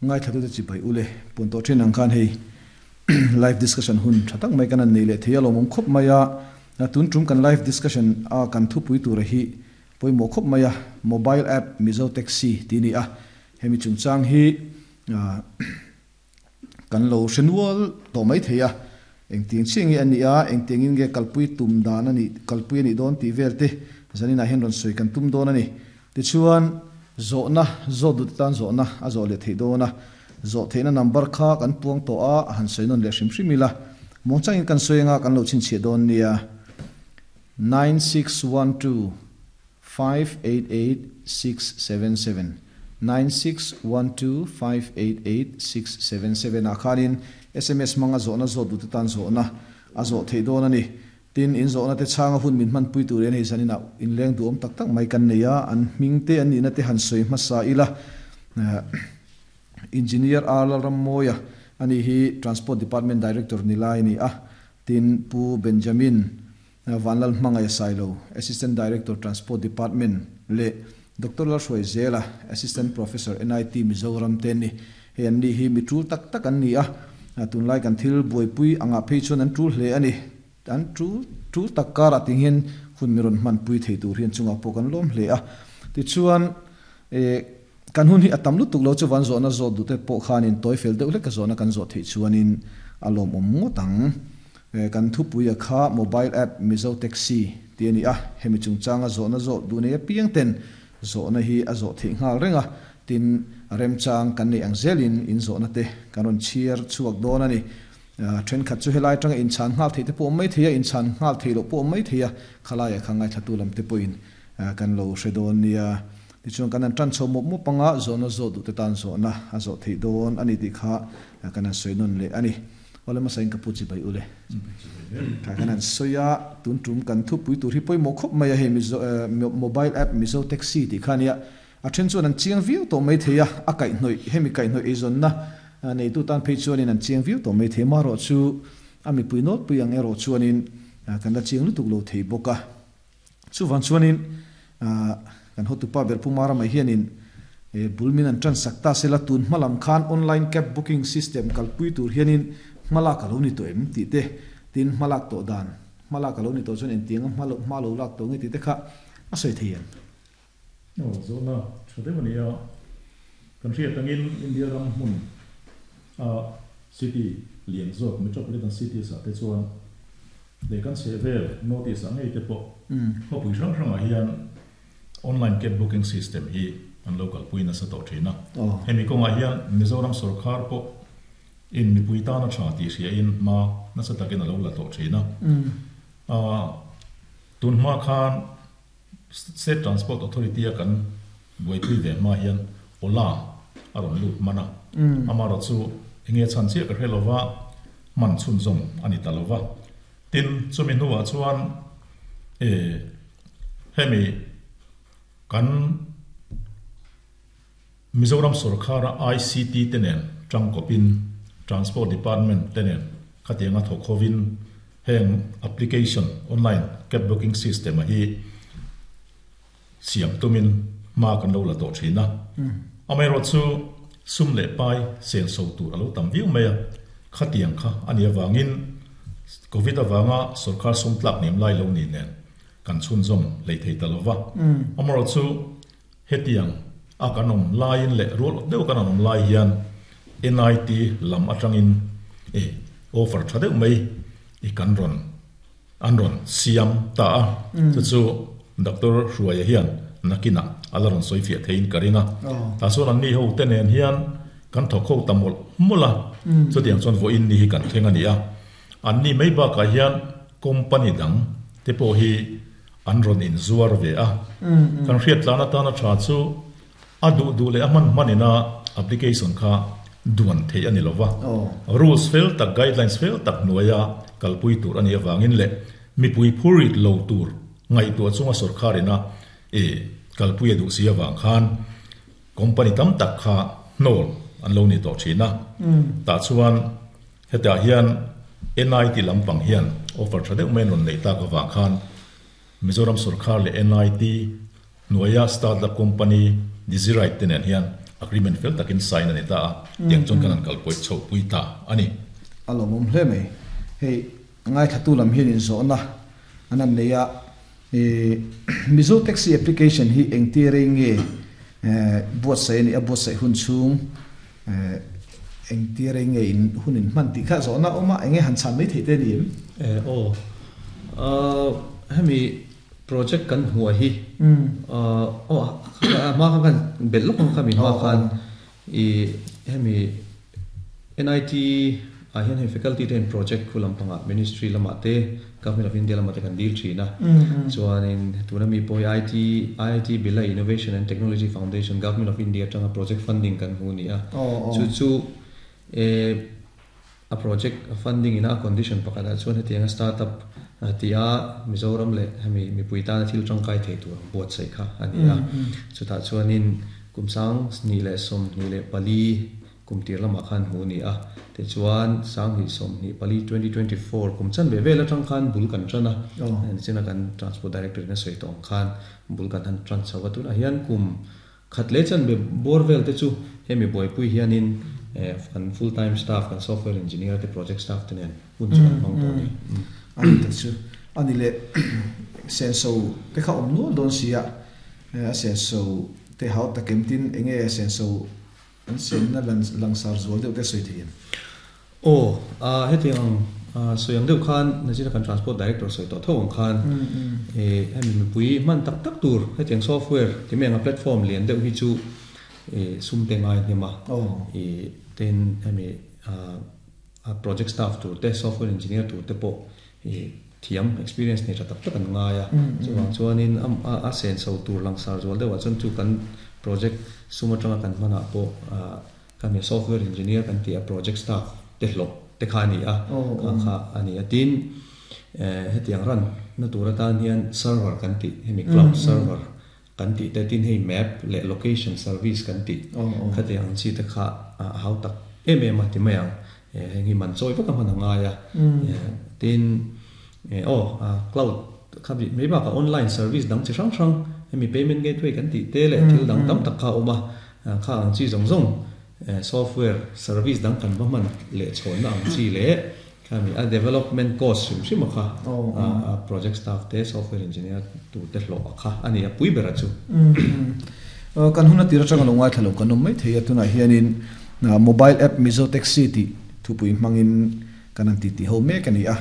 Ngaithlatute chibai ule pun tawh thin ang khan hei live discussion hun tha tak mai kan han nei leh thei a lawmawm khawp mai a. Tun tum kan live discussion a kan thupui tura hi pawimawh khawp mai a, mobile app Mizo Taxi tih a ni a. Hemi chungchang hi kan lo hre nual tawh mai thei a, engtiang chiah nge a nih a, engtiangin nge kalpui tum dan a nih, kalpui a nih dawn tih vel te zaninah hian rawn sawi kan tum dawn a ni. Tichuan, zawhna zawt duh te tan zawhna a zawh leh theih dawn a, zawh theihna number kha kan puang tawh a, a han sawi nawn leh hrim hrim ila, muangchangin kan sawi anga kan lo chhinchhiah dawn nia, 9612. 588677, 9612588677 ah khanin sms hmanga zawhna zawt duhte tan zawhna a zawh theih dawn a ni. Tin, in zawhna te chhanga hun min hmanpui tur hian hei zaninah inleng duhawm tak tak mai kan nei a, an hming te an nihna te han sawi hmasa ila. Engineer R Lalrammawia a nih hi Transport Department Director ni lai a ni a, tin Pu Benjamin Vanlal Hmangaih Sailo, Assistant Director Transport Department leh Doctor Lalhruai Zela, Assistant Professor NIT Mizoram te an ni. Hei an ni hi mi tul tak tak an ni a, tunlai kan thil buaipui angah phei chuan an tul hle a ni. An tul tul tak karah ting hian hun mi rawn hmanpui thei tur hian chungah pawh kan lawm hle a. Tichuan, kan hun hi a tam lutuk lo chuvan zawhna zawt duhte pawh khanin tawi fel deuh hlek a zawhna kan zawh theih chuanin a lawmawm ngawt ang. Kan thupuia kha mobile app Mizo Taxi tih a ni a, hemi chungchanga zawhna zawh duh nei apiang ten zawhna hi a zawh theih nghal reng a, tin remchang kan neih ang zelin in zawhna te kan rawn chhiar chhuak dawn a ni. Thenkhat chu helai atanga inchhan nghal theih te pawh awm mai thei a, inchhan nghal theih loh pawh awm mai thei a, khalaiah kha ngaithlatu lam te pawhin kan lo hre dawn nia. Tichuan kan han tan chho mawp mawp anga zawhna zawh duh te tan zawhna a zawh theih dawn a ni tih kha kan han sawi nawn leh a ni. Awle hmasa in ka pu chibai ule. Kha kan han sawi a, tun tum kan thupui tur hi pawimawh khawp mai a hei Mizo mobile app Mizo Taxi tih kha ania. A then chuan an chiang viau tawh mai thei a, a kaihhnawih hemi kaihhnawih eizawnna neitu tan phei chuanin an chiang viau tawh mai thei. Amaherawh chu a mipui nawlpui ang erawh chuanin kan la chiang lutuk lo thei bawk a. Chuvang chuanin kan hotupa ber Pu Mara mai hianin bul min an ṭansak ta sela tun hma lam khan online cab booking system kalpui tur hianin hmalak a lo ni tawh em tih te, tin hmalak tawh dan, hmalak a lo ni tawh chuan engtianga hma lo lak tawh nge tih te kha a sawi thei em? Aw, zawhna tha deuh a ni a. Kan hriat angin India ram hmun a city lian zawk metropolitan cities ah te chuan leh kan chhehvel North East ah ngei te pawh khawpui hrang hrangah hian online cab booking system hi an lo kalpui nasa tawh thin a. Hemi kawngah hian Mizoram sorkar pawh in mipui tana tha tih hriain hma nasa takin a lo la tawh thin a. Tun hma khan State Transport Authority a kan buaipui ve hma hian Ola a rawn lut hman a, amaherawh chu enge chhan chiah ka hre lova hman chhunzawm a ni ta lova. Tin, chumi hnuah chuan hemi kan Mizoram sorkara ICT te nen tangkawpin Transport Department te nen khatianga thawk hovin heng application online cab booking system a hi siam tumin hma kan lo la tawh thin a. Amaherawh chu sum leh pai senso tur a lo tam viau mai a, khatiang kha a nih avangin Covid avanga sorkar sum tlak hniam lai lo ni nen kan chhunzawm hlei thei ta lova. Amaherawh chu Hetiang a kan awm laiin leh rual awt deuh kan awm lai hian NIT lam atangin i offer tha deuh mai i kan rawn an rawn siam ta a, chu chu Doctor Hruaia hian nakinah a la rawn sawi fiah theiin ka ring a. Tah chuan anni ho te nen hian kan thawk ho ta mawlh mawlh a, chutiang chuan vawiin ni hi kan thleng a ni a. Anni mai bakah hian company dang te pawh hi an rawn inzuar ve a. Kan hriat tlan atana tha chu a duh duh leh a hman hman ina application kha duan theih a ni lo va. Rules fel tak, guidelines fel tak hnuaia kalpui tur a nih avangin leh mipui phurit lo tur ngaihtuah chunga sorkar ina kalpui a duh si avang khan company tam tak kha hnawl an lo ni tawh thin a. Tah chuan Hetah hian NIT lampang hian offer tha deuh mai an rawn neih tak avang khan Mizoram sorkar leh NIT hnuaia startup company Digiride te nen hian agreement fel takin sign a ni ta a, tiang chuan kan han kalpawih chhoh pui ta a ni. A lawmawm hle mai. Hei ngaithlatu lam hian inzawhna an han nei a, Mizo Taxi application hi engti rei nge buatsaih a nih a, buatsaih hun chhung engti rei nge in hun in hman tih kha zawhna a awm a, enge han chhan mai theih te a ni em? Aw, hemi project kan hmuh hi aw a hma khan kan belh lawk ang kha mi hma khan i hemi NIT ah hian hei faculty te hian project khu lampangah ministry lamah te Government of India lamah te kan dil thin a chuanin tuna mi pawh hi IT IIT Bhilai Innovation and Technology Foundation Government of India atanga project funding kan hmu a ni a chu chu eh A project funding ina a condition pakhatah chuan hetianga startup ti a Mizoram leh hemi mipui tana thil tangkai thei tur ang buatsaih kha a ni a. Chutah chuanin kum 2024 kum tir lamah khan hmuh a ni a. Tichuan 2024, 2024 kum chanve vel atang khan bul kan tan a. Nichina kan Transport Director in a sawi tawh ang khan bul kan han tan chho a. Tunah hian kum Khat leh chan be bawr vel te chu hemi buaipui hianin kan full time staff, kan software engineer te project staff te nen hun chu kan hmang tawh a ni. A ni tak chu. A ni leh senso te kha awm nual dawn si a, a senso te hau tak em tin enge senso an senna langsar zual deuh te sawi thei em? Aw, hetiang ang sawi ang deuh khan Nazira kan Transport Director sawi tawh tho ang khan hemi mipui hman tak tak tur hetiang software ti mai anga platform lian deuh hi chu sum te ngai hnem a, tin hemi project staff tur te software engineer tur te pawh thiam experience nei tha tak tak an ngai a, chuvang chuanin a senso tur langsar zual deuhah chuan chu kan project sum atanga kan hmanah pawh Kha mi software engineer kan tih a project staff te hlawh te kha a ni a, kha kha a ni a. Tin, hetiang ran na tur atan hian server kan tih, hemi cloud server kan tih te, tin hei map leh location service kan tih khatiang ang chi te kha a hau tak em em a ti mai ang. Heng hi man chawi vek a hman a ngai a. Tin, aw cloud kha mai bakah online service dang chi hrang hrang hemi payment gateway kan tih te leh thil dang tam tak kha a awm a. Kha ang chi zawng zawng software service dang kan va hman leh chhawnna ang chi leh khami a development cost hrim hrim a kha a project staff te software engineer tur te hlawh a kha a ni a pui ber a chu. Kan hun a tir atanga lo ngaithla lo kan awm mai thei a, tunah hianin mobile app Mizo Taxi tih thupui hmangin kan han titi ho mek a ni a.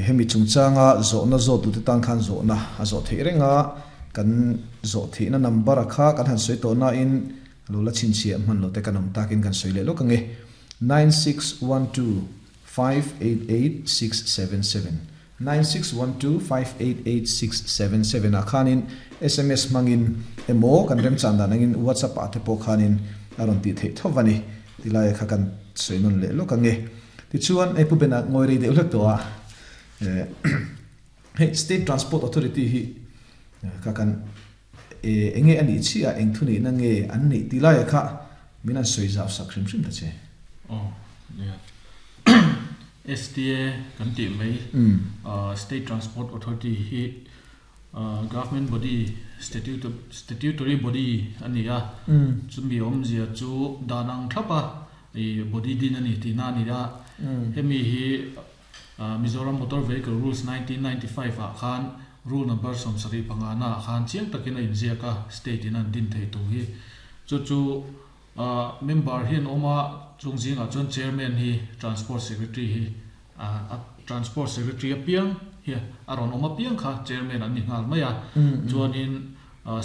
Hemi chungchanga zawhna zawhtute tan khan zawhna a zawh theih reng a. Kan zawh theihna number a kha kan han sawi tawh nain lo la chhinchhiah hman lo te kan awm takin kan sawi leh lawk ange, 9612588677, 9612588677 ah khanin sms hmangin emaw kan remchan dan angin whatsapp ah te pawh khanin a rawn tih theih tho va ni tilai kha kan sawi nawn leh lawk ange. Tichuan hei Pu Bena ngawi rei deuh hlek tawh a. Hei State Transport Authority hi kha kan eng nge a nih chiah a, eng thunihna nge an neih tih laia kha min han sawi zau sak hrim hrim ta che. Aw nia. STA kan tih mai State Transport Authority hi Government body statutory body a ni a, chumi awmzia chu dan ang thlap a body din a ni tihna a ni a, hemi hi Mizoram Motor Vehicle Rules 1995 ah khan Rule Number 75 na ah khan chiang takin a inziak a, State in an din thei tur hi. Chu chu member hi an awm a, chung zingah chuan Chairman hi Transport Secretary hi a Transport Secretary apiang hi a rawn awm apiang kha Chairman an ni nghal mai a. Chuanin.